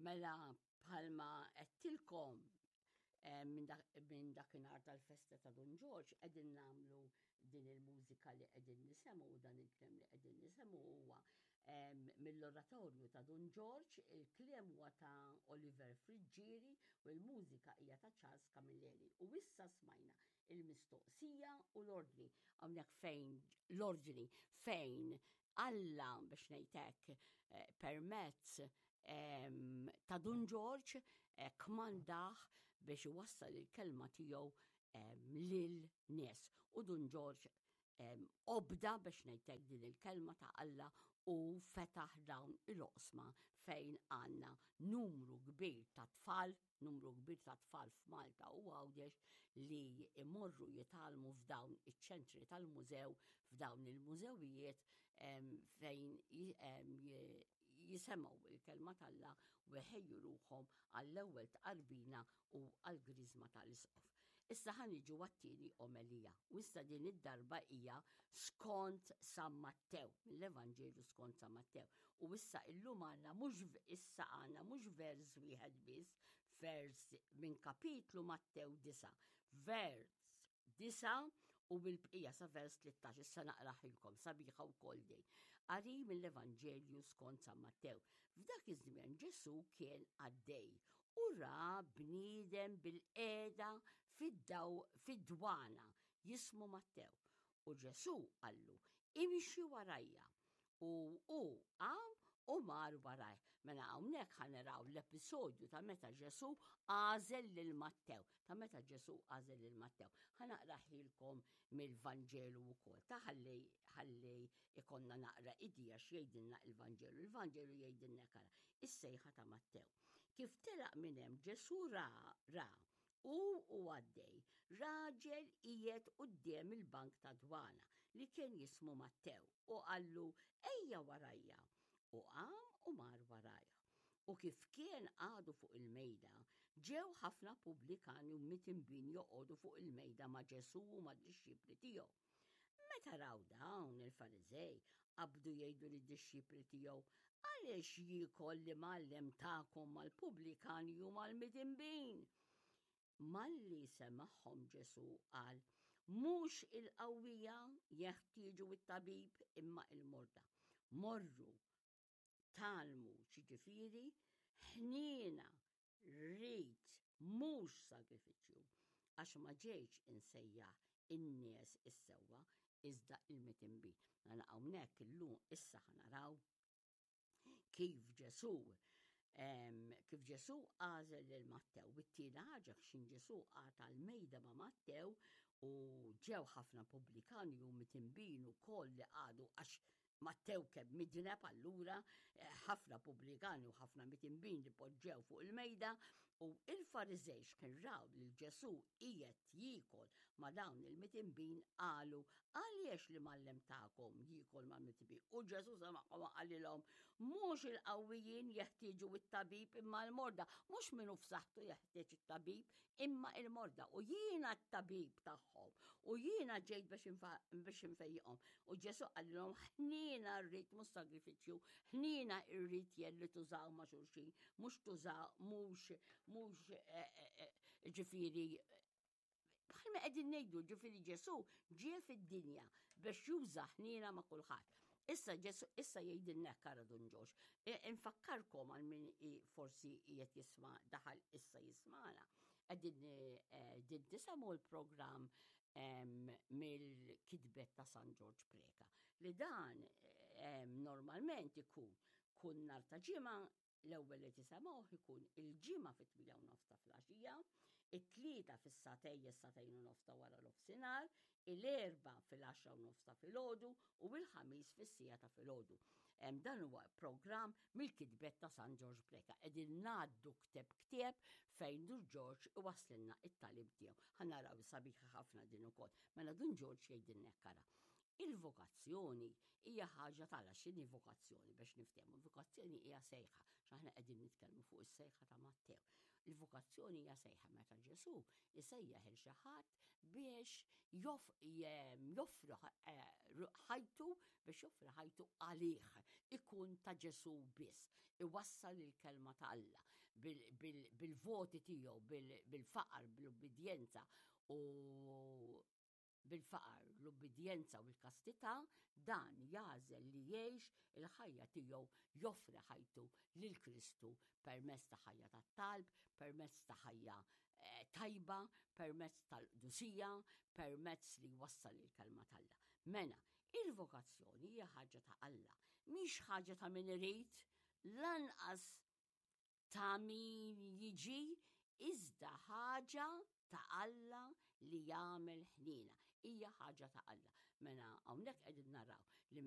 Mela bħalma għedtilkom eh, minn dakinhar tal-festa ta' Dun Ġorġ qegħdin nagħmlu din il-mużika li qegħdin nisemgħu u dan il-kliem li qegħdin nisemgħu huwa eh, mill-oratorju ta' Dun Ġorġ, il-kliem huwa ta' Oliver Friggieri u l-mużika hija ta' Charles Camilleri. U issa smajna il-mistoqsija u l-ordni. Hawnhekk fejn l-ordni fejn Alla biex ngħid hekk eh, permezz ehm, ta' Dun Ġorġ eh, kmandah biex iwassal il-kelma tiegħu ehm, lil nies. U Dun Ġorġ ehm, obda biex ngħid hekk din il-kelma ta' Alla u fetaħ dawn il-oqsma fejn għandna numru kbir ta' tfal numru kbir ta' tfal f'Malta u Għawdex li imorru jitgħallmu f'dawn iċ-ċentri tal-mużew, f'dawn il-mużewijiet fejn jisemgħu il-kelma t'Alla u jħejju ruħhom għall-ewwel tqarbina u għall-griżma tal-isqof. Issa ħa niġu għat-tieni omelija. U issa din id-darba hija skont San Mattew, mill-Evanġelju skont San Mattew. U issa illum għandna mhux issa għandna mhux vers wieħed biss, vers minn kapitlu Mattew 9, vers 9 u bil-bqija sa vers 13, issa naqraħilkom sabiħa wkoll din. Qari mill-Evanġelju skont San Mattew. F'dak iż-żmien Ġesù kien għaddej u ra bniedem bil-qiegħda fid-daw fid-dwana jismu Mattew. U Ġesù qallu, imxi warajja. U hu qam u mar warajh. Mela hawnhekk ħa naraw l-episodju ta' meta Ġesù għażel lil Mattew, ta' meta Ġesù għażel lil Mattew. Ħa naqraħilkom mill-Vanġelu wkoll, ta' ħalli ħalli ikonna naqra idea x'jgħidilna il-Vanġelu. Il-Vanġelu jgħidilna kara, is-sejħa ta' Mattew. Kif telaq minn hemm Ġesù ra ra u u għaddej raġel qiegħed quddiem il-bank ta' dwana li kien jismu Mattew u qallu ejja warajja u qam u mar warajh. U kif kien għadu fuq il-mejda, ġew ħafna pubblikani u mitinbin joqogħdu fuq il-mejda ma' Ġesù u mad-dixxipli tiegħu. Meta raw dawn il-Fariżej qabdu jgħidu lid-dixxipli tiegħu, Għaliex jiekol l-imgħallem tagħkom mal-pubblikani u mal-midinbin? Malli semagħhom Ġesù qal, Mhux il-qawwija jeħtieġu t-tabib imma il-morda. Morru tgħallmu x'jiġifieri ħniena rrid mhux sagrifiċċju, għax ma ġejtx insejjaħ in-nies is-sewwa iżda il-mitinbin. Mela hawnhekk illum issa ħa naraw kif Ġesù kif Ġesù għażel lil Mattew. It-tieni ħaġa x'in Ġesù qata l-mejda ma' Mattew u ġew ħafna pubblikani u mitinbin ukoll li qagħdu għax Mattew kemm midneb allura eh, ħafna pubblikani u ħafna mitinbin li poġġew fuq il-mejda u il-Fariżej x'kien raw lil Ġesù qiegħed jiekol ma' dawn il-mitinbin qalu għaliex li mallem tagħkom jiekol ma' mitinbin u Ġesù semagħhom qalilhom mhux il-qawwijin jeħtieġu it-tabib imma l-morda mhux minnu f'saħħtu jeħtieġ it-tabib imma il-morda u jiena t-tabib tagħhom u jiena ġejt biex infejjiqhom. U Ġesu qalilhom ħniena rrid mhux sagrifiċċju, ħniena rrid jelli tużaw ma' xulxin, mhux tużaw mhux mhux eh, eh, eh, ġifieri bħalma qegħdin ngħidu ġifieri Ġesu ġie fid-dinja biex juża ħniena ma' kulħadd. Issa Ġesu issa jgħidilna kara Dun Ġorġ. E, infakkarkom għal min forsi qiegħed jisma' daħal issa jismana. Qegħdin e, din tisemgħu l-programm mill-kitbet ta' San Ġorġ Preka li dan normalment ikun kull nar ta' ġimgħa L-ewwel li tisemgħuh ikun il-Ġimgħa fit-8 u nofs ta' filgħaxija, it-Tlieta fis-sagħtejn is-sagħtejn u nofs ta' wara nofsinhar, il-Erbgħa fil-10 u nofs ta' filgħodu u il-Ħamis fis-siegħa ta' filgħodu. Dan huwa programm mill-kitbet ta' San Ġorġ Preca. Qegħdin ngħaddu kteb ktieb fejn Dun Ġorġ iwasslilna it-tagħlim tiegħu. Ħa naraw sabiħa ħafna din ukoll. Mela Dun Ġorġ jgħidilna hekk ara. Il-vokazzjoni hija ħaġa tala x'inhi vokazzjoni biex niftehmu. Vokazzjoni hija sejħa, x'aħna qegħdin nitkellmu fuq is-sejħa ta' Mattew. Il-vokazzjoni hija sejħa meta Ġesù isejjaħ il xi ħadd biex joffri eh, ħajtu biex joffri ħajtu għalih, ikun ta' Ġesù biss, iwassal il-kelma ta' Alla. Bil-voti tiegħu, bil-faqar, bil-ubbidjenza u bil-faqar, l-ubbidjenza u l-kastità, dan jagħżel li jgħix il-ħajja tiegħu joffri ħajtu lil Kristu permezz ta' ħajja ta' talb, permezz ta' ħajja eh, tajba, permezz tal-qdusija, permezz li jwassal il-kelma t'Alla. Mela, il-vokazzjoni hija ħaġa ta' Alla, mhix ħaġa ta' min irid, lanqas ta' min jiġi, iżda ħaġa ta' Alla li jagħmel ħniena. Hija ħaġa ta' Alla. Mela hawnhekk qegħdin naraw li